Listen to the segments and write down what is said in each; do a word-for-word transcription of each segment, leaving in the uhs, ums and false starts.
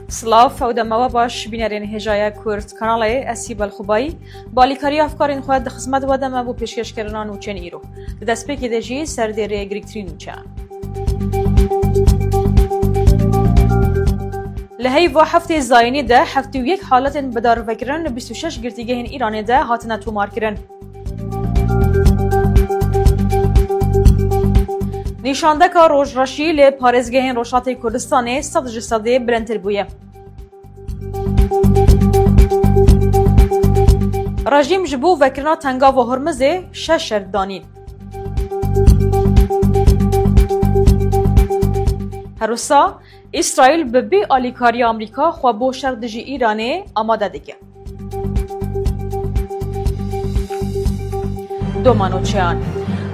Silav, ew dema we baş, bînerên hêjaya Kurd Kanalê, ez Sîbel Xubayî, bi alîkariya hevkarên xwe di xizmet we de me bo pêşkêşkirina nûçeyên îro. Di destpêkê de jî serdêrê girîngtirîn nûçeyan. Li heyva heftê zayînî de heftê û yek haletên bidarvekirin li bîst û şeş girtîgehên Îranê de hatine tomarkirin. Nîşandeka rojreşî li parêzgehên Rojhatê Kurdistanê sed ji sedê bilindtir bûye. Rejîm ji bo vekirina Tengava Hormizê şeş şert danîn. Her wisa, Îsraîl bi bê alîkariya Amerîka xwe bo şer dijî Îranê amade dike. Doma nûçeyan.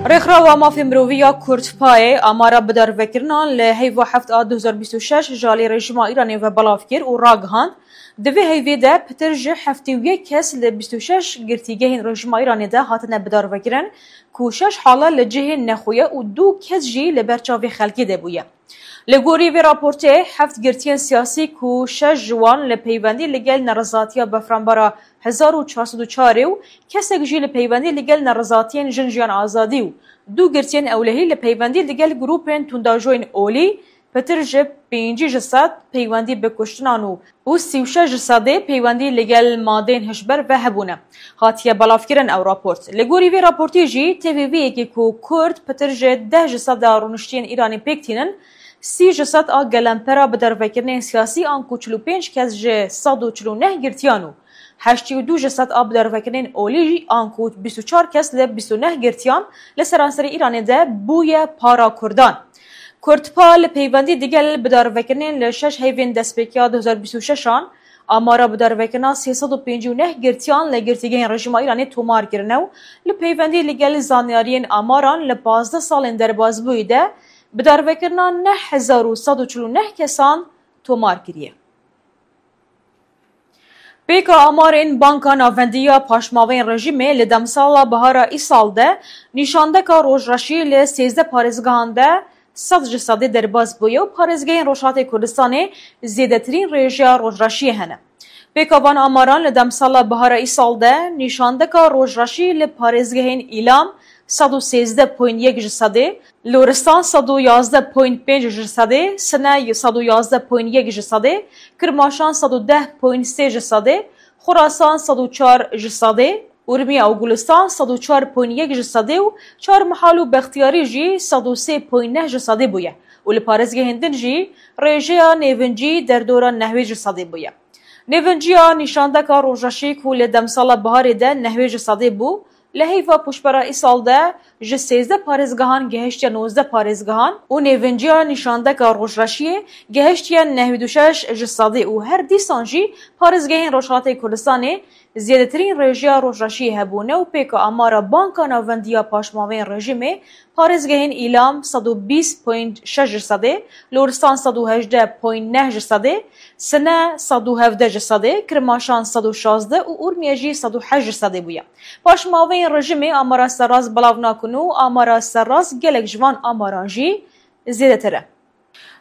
Rêxrawa Mafê Mirovî ya Kurd, PAYê, amara bidarvekirinan li heyva heft a du hezar bîst û şeş ji alî rejîma Îranê ve belav kir û ragihand, di vê heyvê de pitir ji heftê û yek kes li bîst û şeş girtîgehên rejîma Îranê de hatine bidarvekirin, ku şeş hale li cihên nexwe ye û du kes jî li ber çavê xelkê de bûye. Li gorî vê raportê, heft girtiyên siyasî ku şeş ji wan li peywendî li gel nerizatiya befranbara hezar û çar sed û çar û kesek jî li peywendî li gel nerizatiyên jin jiyan azadî û du girtiyên ewlehî li peywendî li gel grûpên tundajoyên olî, pitir ji pêncî ji sed peywendî bi kuştinan û û sî û şeş ji sedê peywendî li gel madeyên hişber ve hebûne. Hatiye belavkirin ew raport. Li gorî vê raportê jî tê vê vê yekê ku Kurd pitir ji deh ji sed a rûniştiyên Îranê pêk tînin, sî ji sed a gelempera bidarvekirinên siyasî anku çil û pênc kes ji sed û çil û neh girtiyan û heştê û du ji sed a bidarvekirinên olî anku bîst û çar kes li bîst û neh girtiyan li seranserê Îranê de bûye para Kurdan. Kurdpa li peywendî digel bidarvekirinên li şeş heyvên destpêkiya du hezar bîst û şeş an, amara bidarvekirina sê sed û pêncî û neh girtiyan li girtîgehên rejîma Îranê tomar kirine û li peywendî li gel zanyariyên amaran li pazdeh salên derbasbûyî de bidarvekirina neh hezar û sed û çil û neh kesan tomar kiriye. Pêka amarên Banka Navendî ya Paşmavên Rejîmê li demsala bihara îsal de nîşandeka rojreşî li sêzdeh parêzgehan de sed ji sedê derbas bûye û parêzgehên Rojhatê Kurdistanê zêdetirîn rêjeya rojreşiyê hene. Pêka van amaran li demsala bihara îsal de nîşandeka rojreşî li parêzgehên Îlam sed û sêzdeh point yek ji sedê, Loristan sed û yazdeh point pênc ji sedê, Sine sed û yazdeh point yek ji sedê, Kirmaşan sed û deh point sê ji sedê, Xurasan sed û çar ji sedê, Urmiye û Gulistan sed û çar point yek ji sedê û Çarmihal û Bextiyarî jî sed û sê point neh ji sedê bûye û li parêzgehên din jî rêjeya nêvincî derdora nehwê ji sedê bûye. Nêvinciya nîşandeka rojreşî ku li demsala biharê de nehwê ji sedê bû, li heyva pûşbera îsal de ji sêzdeh parêzgehan gehiştiye nozdeh parêzgehan û nêvinciya nîşandeka rojreşiyê gehiştiye nehwê û şeş ji sedê û her dîsan jî parêzgehên Rojhilatê Kurdistanê zêdetirîn rêjeya rojreşiyê hebûne û pêka amara Banka Navendî ya Paşmavên Rejîmê, parêzgehên Îlam sed û bîst point şeş ji sedê, Loristan sed û hejdeh point neh ji sedê, Sine sed û hevdeh ji sedê, Kirmaşan sed û şazdeh û Urmiye jî sed û heşt ji sedê bûye. Paşmaveyên rejîmê amara serrast belav nakin û amara serrast gelek ji van amaran jî zêdetir e.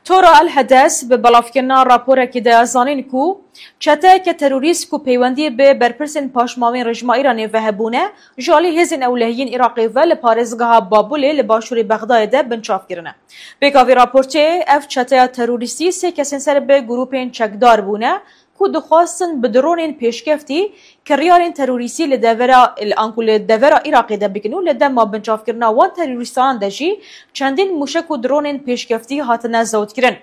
Tora El Hedes bi belavkirina raporekê de zanîn ku çeteyeke terorîst ku peywendî bi berpirsên paşmavên rejîma Îranê ve hebûne, ji alî hêzên ewlehiyên Iraqê ve li parêzgeha Babulê li başûrê Bexdayê de binçav kirine. Pêka vê raportê, ev çeteya terorîstî sê kesên ser bi grûpên çekdar bûne ku dixwastin bi dronên pêşkeftî kiryarên terorîstî li devera, anku li devera Iraqê de bikin û li dema binçavkirina wan terorîstan de jî çendîn mûşek û dronên pêşkeftî hatine zewtkirin.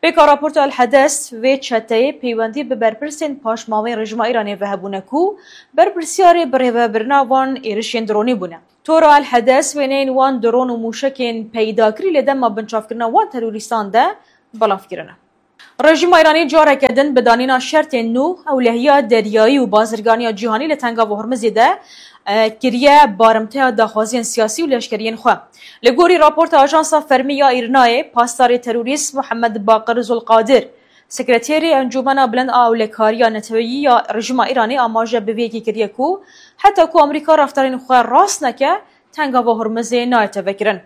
Pêka raporta El Hedes, vê çeteyê peywendî bi berpirsên paşmavên rejîma Îranê ve hebûne ku berpirsyarê birêvebirina van êrişên dronî bûne. Tora El Hedes wêneyên wan dron û mûşekên peydakirî li dema binçavkirina wan terorîstan de belav kirine. Rejîma Îranî careke din bi danîna şertên nû ewlehiya deryayî û bazirganiya cîhanî li Tengava Hormizê de, e, kiriye barimteya daxwaziyên siyasî û leşkeriyên xwe. Li gorî raporta Ajansa Fermî ya Îrnayê, pasdarê terorîst Muhammed Baqir Zulqadir, sekreterê Encûmena Bilind a Ewlekariya Neteweyî ya rejîma Îranê amaje bi vê yekê kiriye ku heta ku Amerîka reftarên xwe rast neke, Tengava Hormizê nayête vekirin.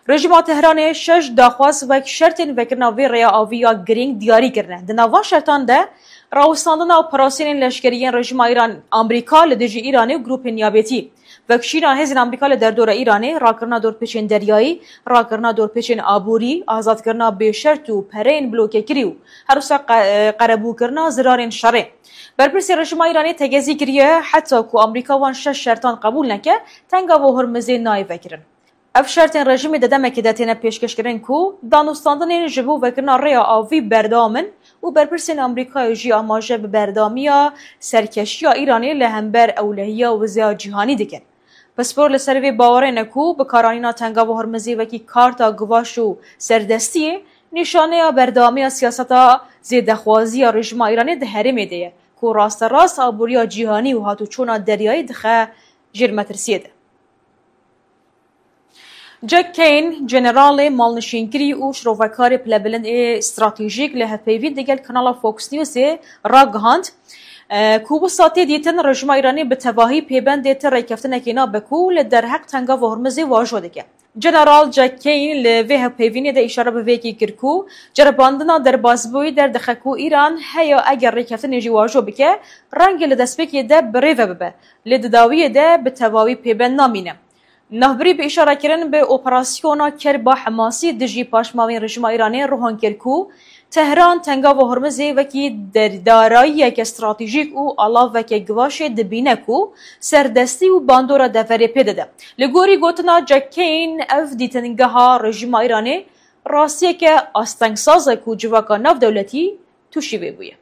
Rejîma Tehranê şeş daxwaz wek şertên vekirina vê rêya avî ya girîng diyarî kirine. Di nav van şertan de rawestandina operasyonên leşkerî yên rejîma Îran, Amerîka li dijî Îranê û grûpên niyabetî, vekişîna hêzên Amerîka li derdora Îranê, rakirina dorpêçên deryayî, rakirina dorpêçên aborî, azadkirina bêşert û pereyên blokekirî û her wisa qe-, qerebûkirina zirarên şerê. Berpirsê rejîma Îranê tegezî kiriye, heta ku Amerîka van şeş şertan qebûl neke, Tengava Hormizê nayê vekirin. Ev şertên rejîmê di demekê de têne pêşkêşkirin ku danûstandinên ji bo vekirina rêya avî berdewam in û berpirsên Amerîkayê jî amaje bi berdewamiya serkeşiya Îranê li hember ewlehiya wizeya cîhanî dikin. Pispor li ser vê bawerê ne ku bikaranîna Tengava Hormizê wekî karta givaş û serdestiyê nîşaneya berdewamiya siyaseta zêdexwazî ya rejîma Îranê di herêmê de ye ku rasterast aboriya cîhanî û hatûçûna deryayî dixe jêr metirsiyê de. Jack Kane, generalê malnişînkirî û şirovekarê pilebilind ê stratejîk li hevpeyvîn digel kanala Fox Newsê ragihand, e, ku wisa tê dîtin rejîma Îranê bi tevahî pêbendê ti rêkeftinekê nabe ku li derheq Tengava Hormizê vajo dike. General Jack Kane li vê hevpeyvînê de îşare bi vê yekê kir ku ceribandina derbasbûyî derdixe ku Îran heya eger rêkeftinê jî wajo bike, rengê li destpêkê de bi rê ve bibe, lê di dawiyê de bi tevawî pêbend namîne. Navbirî bi îşarekirin bi operasyona Kerba Hemasî dijî paşmavên rejîma Îranê rohan kir ku Tehran Tengava Hormizê wekî der-, darayiyeke stratejîk û alaveke givaşê dibîne ku serdestî û bandora deverê pê dide. Li gorî gotina Jack Kane, ev dîtingeha rejîma Îranê rastiyeke astengsaz e ku civaka navdewletî tûşî vê bûye.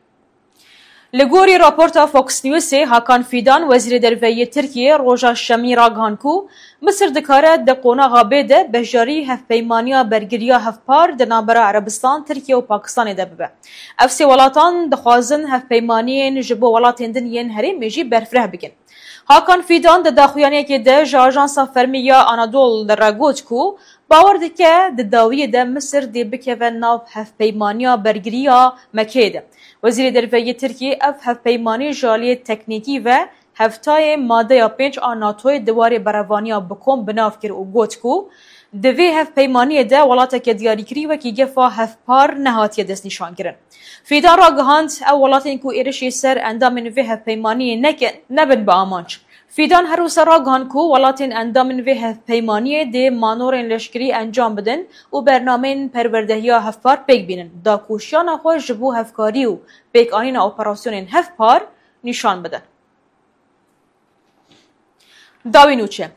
Li gorî raporta Fox Newsê, Hakan Fidan, Wezîrê Derve yê Tirkiyê, roja Şemî ragihand ku Misir dikare di qonaxa bê de bejarî hevpeymaniya bergiriya hevpar di navbera Erebistan, Tirkiye û Pakistanê de bibe. Ev sê welatan dixwazin hevpeymaniyên ji bo welatên din yên herêmê jî berfireh bikin. Hakan Fidan di daxuyaniyekê de ji ajansa fermî ya Anadolu re got ku bawer dike di dawiyê de Misir dê bikeve nav hevpeymaniya bergiriya Mekeyê de. Wezîrê Derve yê Tirkiyê ev hevpeymanî ji aliyê teknîkî ve hevtayê madeya pênc a NATOyê di warê berevaniya bi kom bi nav kir û got ku di vê hevpeymaniyê de welateke diyarîkirî wekî gefa hevpar nehatiye destnîşankirin. Fîdan ragihand, ew welatên ku êrişê ser endamên vê hevpeymaniyê nekin, nebin bi amanc. Fîdan her wisa ragihand ku welatên endamên vê hevpeymaniyê dê manorên leşkerî encam bidin û bernameyên perwerdehiya hevpar pêk bînin, dakoşiyana xwe ji bo hevkarî û pêkanîna operasyonên hevpar nîşan bidin. Dawî nûçe.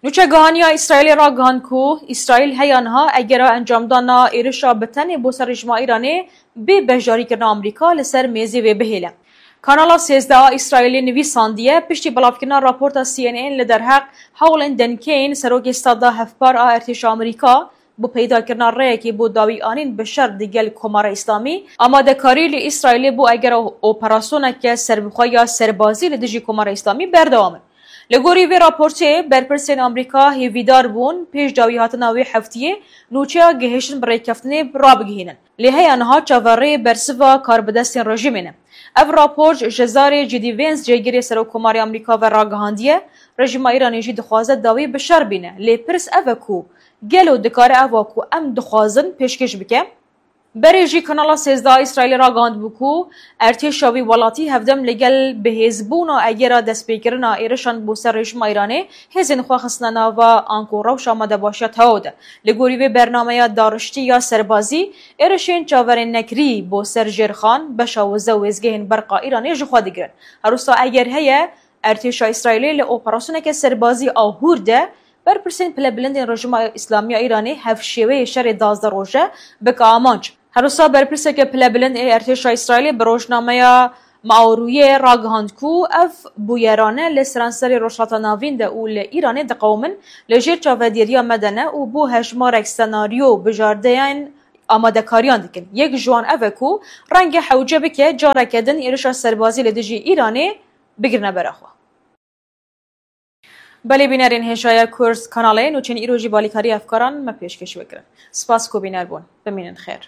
Nûçegihaniya Îsraîlê ragihand ku Îsraîl heya niha egera encamdana êrişa bi tenê bo ser rejîma Îranê bê beşdarîkirina Amerîka li ser mêzê wê bihêle. Kanala sêzdeh a Îsraîlê nivîsandiye, piştî belavkirina raporta C N N li derheq hewlên denkeyên serokê stad a hevpar a erdhêşa Amerîka, bo peydakirina rêyekê bo dawîanîn bi şer digel Komara Îslamî, amadekarî li Îsraîlê bo egera operasyoneke serbixwe ya serbazî li dijî Komara Îslamî berdewam in. Li gorî vê raportê, berpirsên Amerîka hêvîdar bûn pêş dawîhatina wê heftiyê nûçeya gihiştin bi rêkeftinê rabigihînin. Lê heya niha çaverê bersiva karbidestên rejîmê ne. Ev rapor ji zarê J D Vance, cêgirê Serokkomarê Amerîka ve ragihandiye, rejîma Îranê jî dixwaze dawî bi şer bîne. Lê pirs ev e ku gelo dikare eva ku em dixwazin pêşkêş bike? Berê jî Kanala sêzdeh a Îsraîlê ragihandibû ku erdhêşa wî welatî hevdem li gel bihêzbûna egera destpêkirina êrişan bo ser rejîma Îranê hêzên xwe xistine nava anku rewşa amadebaşiya tewaw de. Li gorî vê bernameya dariştî ya serbazî, êrişên çaverênekirî bo ser Jêrxan, beşa wize û wêzgehên berqa Îranê ji xwe digirin. Her wisa eger heye, erdhêşa Îsraîlê li operasyoneke serbazî a hûr de berpirsên pilebilindên Rejîma Îslamî ya Îranê hevşêweyê şerê duwazdeh roje bike amanc. Her wisa berpirseke pilebilind ê erdhêşa Îsraîlê bi rojnameya Maorûyê ragihand ku ev bûyerane li seranserê Rojhilata Navîn de û li Îranê diqewimin, li jêr çavedêriya me de ne û bo hejmarek senaryo bijardeyên amadekariyan dikin. Yek ji wan ev e ku renge hewce bike careke din êrişa serbazî li dijî Îranê bigirine bera xwe. Belê bînerên hêşaya Kurs kanalê, nûçên îro jî balîkarî efkaran me pêşkêş we kirin. Spas ku bîner bûn. Bimînin xêr.